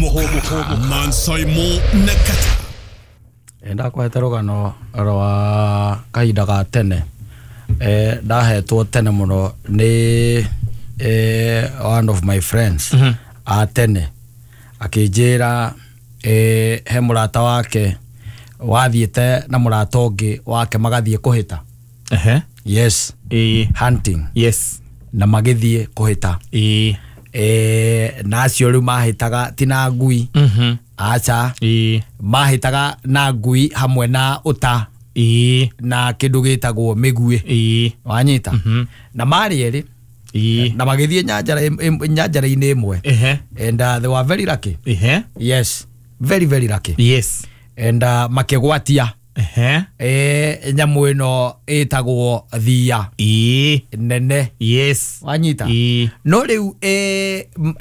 Hũmũka Mansaimo na Kata. Ndakwete rũgano rwa kahinda ga tene. Ndahetwo tene mũno nĩ one of my friends a tene akĩnjĩra he mũrata wake wathiĩte na mũrata ũngĩ wake magathiĩ kũhĩta. Yes. Hunting. Yes. Na magĩthiĩ kũhĩta. Na acio rĩu mahĩtaga ti na ngui. Aca. Mahĩtaga na ngui hamwe na ũta. Na kĩndũ gĩtagwo mĩguĩ. Wanyita. Na marĩ erĩ. Na magĩthiĩ nyanjara-inĩ ĩmwe. And they were very lucky. Yes. Very very lucky. Yes. And makĩgwatia nyamũ ĩno ĩtagwo thia nene. Yes. Wanyita. No rĩu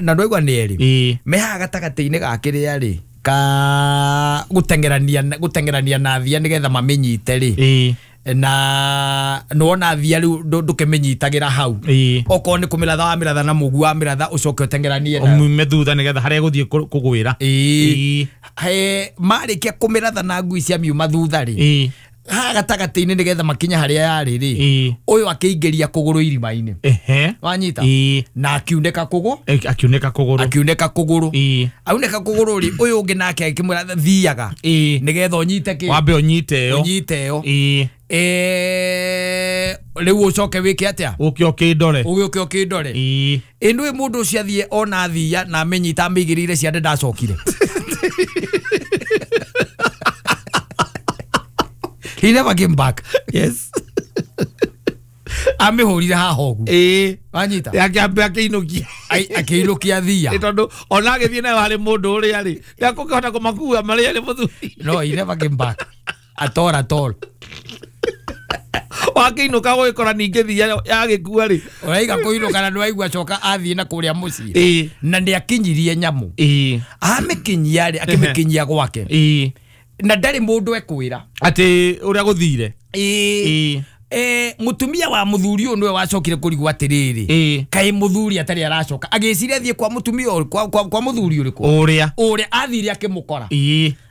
na ndwaigua nĩ erĩ mehaha gatagatĩ-inĩ ga kĩrĩa rĩ ka gũteng'erania na thia nĩgetha mamĩnyite rĩ na nĩwona thia rĩu ndũkĩmĩnyitagĩra hau okorwo nĩ kũmĩratha wamĩratha na mũgu wamĩratha ũcoke ũteng'eranie nayo ũmume thutha nĩgetha harĩa ĩgũthiĩ kũgwĩra. Marĩkia kũmĩratha na ngui ciamiuma thutha rĩ haha gatagatĩ-inĩ nĩgetha makinye harĩa yarĩ rĩ ũyũ akĩingĩria kũgũrũ irima-inĩ. Wanyita. Na akiunĩka kũgũrũ. Akiunĩka kũgũrũ. Aunĩka kũgũrũ rĩ ũyũ ũngĩ nake akĩmwĩra thiaga nĩgetha ũnyite kĩ wambe ũnyite ĩyo. Ũnyite ĩyo. Rĩu ũcoke wĩke atĩa? Ũke ũkĩndore. Ũgĩũke ũkĩndore. Ĩ nĩũĩ mũndũ ũcio athiĩ ona thia na amĩnyita amĩigĩrĩire ciande ndacokire. He never came back. Yes. Amĩhũrire haha ũguo. Wanyita. Akĩambia akĩinũkia. Akĩinũkia thia. Tondũ ona agĩthiĩ nayo harĩ mũndũ ũrĩa rĩ ndekũkĩhota kũmakua marĩ erĩ mũthuri. No, he never came back. At all, at all. Wakĩinũka gũgĩkora ningĩ thia yagĩkua rĩ. Ũraiga kũinũka na nĩwaigua acoka athiĩ na kũrĩa mũciĩ. Na nĩakinyirie nyamũ. Amĩkinyia rĩ akĩmĩkinyia gwake. Na ndarĩ mũndũ ekwĩra atĩ ũrĩa gũthire. Mũtumia wa mũthuri ũyũ nĩwe wacokire kũrigwo atĩrĩrĩ kaĩ mũthuri atarĩ aracoka agĩciria athiĩ kwa mũtumia kwa mũthuri ũrĩkũ ũrĩa athire akĩmũkora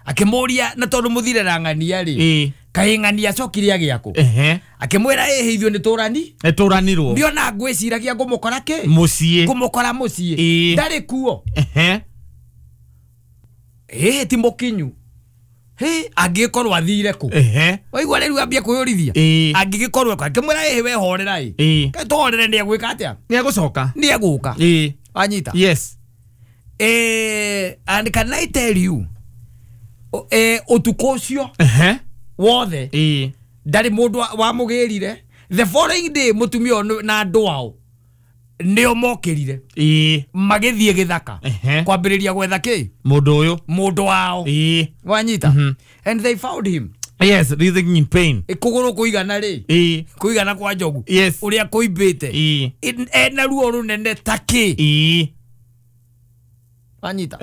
akĩmũria na tondũ mũthire na ng'ania rĩ kaĩ ng'ania acokire agĩakũ akĩmwĩra ĩhĩ ithuĩ nĩ tũranirwo ndiona ngwĩciragia ngũmũkora kĩ mũciĩ ngũmũkora mũciĩ ndarĩ kuo ĩhĩ ti mũkinyu. He angĩkorwo athire kũ waigua rĩu ambia kwĩyũrithia angĩgĩkorwo akĩmwĩra ĩhĩ we horera ĩ kaĩ tũhorere nĩ egwĩka atĩa nĩ egũcoka nĩ egũka. Wanyita. Yes. And can I tell you ũtukũ ũcio wothe ndarĩ mũndũ wamũgĩrire. The following day mũtumia ũyũ na andũ ao nĩo mokĩrire magĩthiĩ gĩthaka kwambĩrĩria gwetha kĩ mũndũ ũyũ mũndũ wao. Wanyita. And they found him. Yes, writhing in pain. Kũgũrũ kũigana rĩ kũigana kwa njogu ũrĩa kũimbĩte ena ruo rũnene ta kĩ. Wanyita.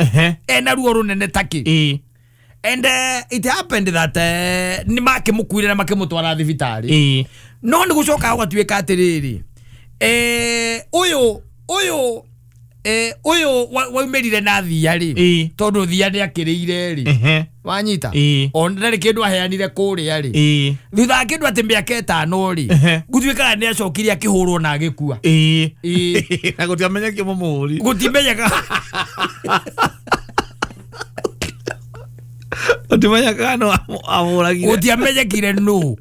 Ena ruo rũnene ta kĩ. And it happened that nĩ makĩmũkuire na makĩmũtwara thibitarĩ. No nĩ gũcoka gũgatuĩka atĩrĩrĩ ũyũ waumĩrire na thia rĩ tondũ thia nĩ akĩrĩire rĩ. Wanyita. Ona ndarĩ kĩndũ aheanire kũrĩa rĩ thutha wa kĩndũ atĩ mĩaka ĩtano rĩ gũtuĩkaga nĩ acokire akĩhũrwo na agĩkua. Na gũtiamenyekire mũmũhũri. Gũtimenyeka. Gũtimenyekaga nũ amũragire. Gũtiamenyekire nũ.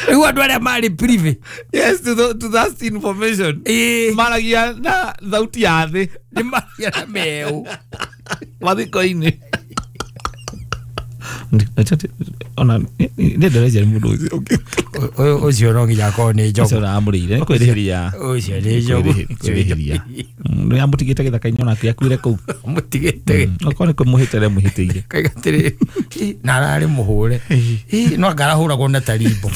Rĩu andũ arĩa marĩ privy. Yes, to that information. Maragia na thauti ya thĩ. Nĩ maragia na meũ. Mathiko-inĩ. Ona nĩ ndĩrecia mũndũ ũcio. Ũcio no nginya akorwo nĩ njogu. Ũcio ũramũrĩire kwĩrĩhĩria. Ũcio nĩ njogu. Kwĩrĩhĩria. Nĩ amũtigĩte gĩthaka-inĩ onake akuire kũu. Amũtigĩte. Okorwo nĩ kũmũhĩtĩra mũhĩtĩire. Kaiga atĩrĩrĩ na ararĩ mũhũre. No anga arahũragwo na tarimbo.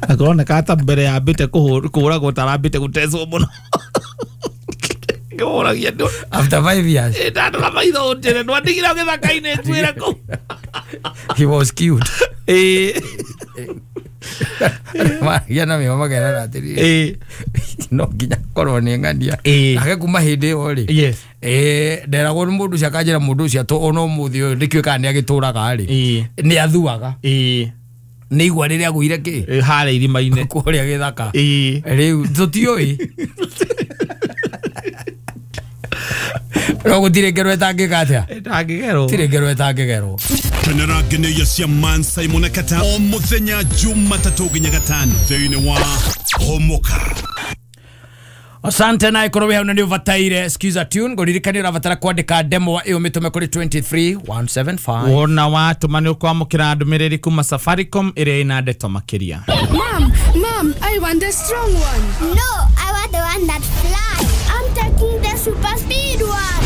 Na kũroneka ta mbere yambĩte kũhũragwo ta arambĩte gũtecwo mũno. Ngĩmũragia ndũ. After 5 years. Ndandora maitho ũnjĩre ndwandigire gĩthaka-inĩ nguĩre kũu. He was cute. Maragia na mĩo makerana atĩrĩrĩ. No nginya korwo nĩ ng'ania. Nake kuma hĩndĩ ĩyo rĩ, yes, nderagwo nĩ mũndũ ũcio akanjĩra mũndũ ũcio atũ ona ũmũthĩ ũyũ ndĩkĩũĩ kana nĩ agĩtũraga rĩ, nĩ athuaga. Nĩ igua rĩrĩa agũire kĩ harĩa irima-inĩ kũrĩa gĩthaka. Rĩu tũtiũĩ. No gũtirĩ ngero ĩtangĩka atĩa? Ĩtangĩgerwo. Tirĩ ngero ĩtangĩgerwo. Kenera ngeneia cia Man Simon na Kata o muthenya Jumatatũ nginya Gatano thĩinĩ wa Homoka. Asante na ikorwo wĩ hau na nĩ ũbataire Skiza tune ngũririkanie ũrabatara kwandĩka demo ĩyo mĩtũme kũrĩ 23175. Wona watũma nĩ ũkwamũkĩra ndũmĩrĩri kuma Safaricom ĩrĩa ĩna ndeto makĩria. Mom, Mom, I want the strong one. No, I want the one that flies. I'm taking the super speed one.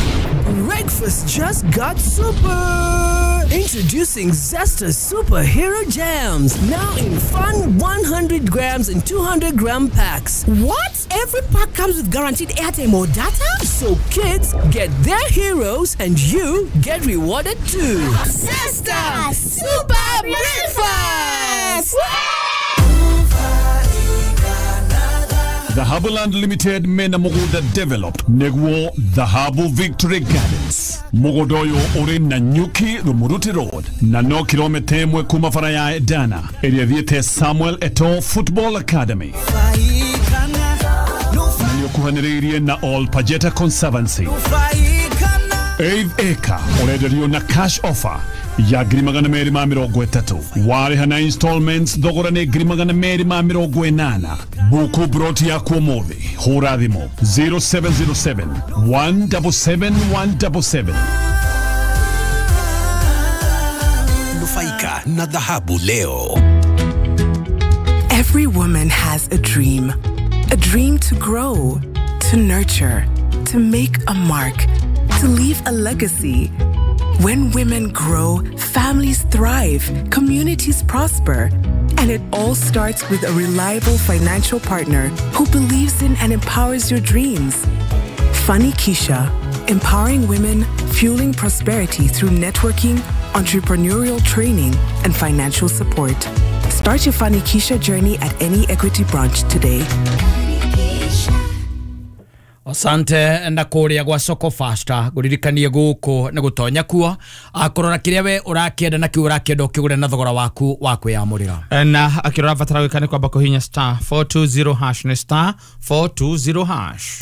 Breakfast just got super. Introducing Zesta Superhero Jams, now in fun 100 grams and 200 gram packs. What? Every pack comes with guaranteed airtime or data? So kids get their heroes and you get rewarded too. Zesta Super Breakfast! Dhahabuland Limited mena mugunda developed neguo Dhahabu Victory Gardens. Mugunda uyu uri na Nyuki Rumuruti Road na no kilomita 1 kuma bara ya Edana ĩrĩa ĩthiĩte Samuel Eto'o Football Academy. Na nĩũkuhanĩrĩirie na All Pajeta Conservancy. 8 acre ũrenderio na cash offer ya 230,000. Warĩha na installments thogora nĩ 280,000. Buku broti yaku ũmũthĩ hũra thimũ 0707 177 177. Nufaika na dhahabu leo. Every woman has a dream. A dream to grow, to nurture, to make a mark, to leave a legacy. When women grow, families thrive, communities prosper. And it all starts with a reliable financial partner who believes in and empowers your dreams. Funny Keisha, empowering women, fueling prosperity through networking, entrepreneurial training, and financial support. Start your Funny Keisha journey at any Equity branch today. Asante na kũrĩa gwa Soko Faster ngũririkanie gũkũ nĩ gũtonya kuo akũrora kĩrĩa we ũrakĩenda na kĩu ũrakĩenda ũkĩgũre na thogora waku wa kwĩyamũrĩra. Na akĩrora batara gwĩka nĩ kwamba kũhihinya star 420 hash nĩ star 420 hash.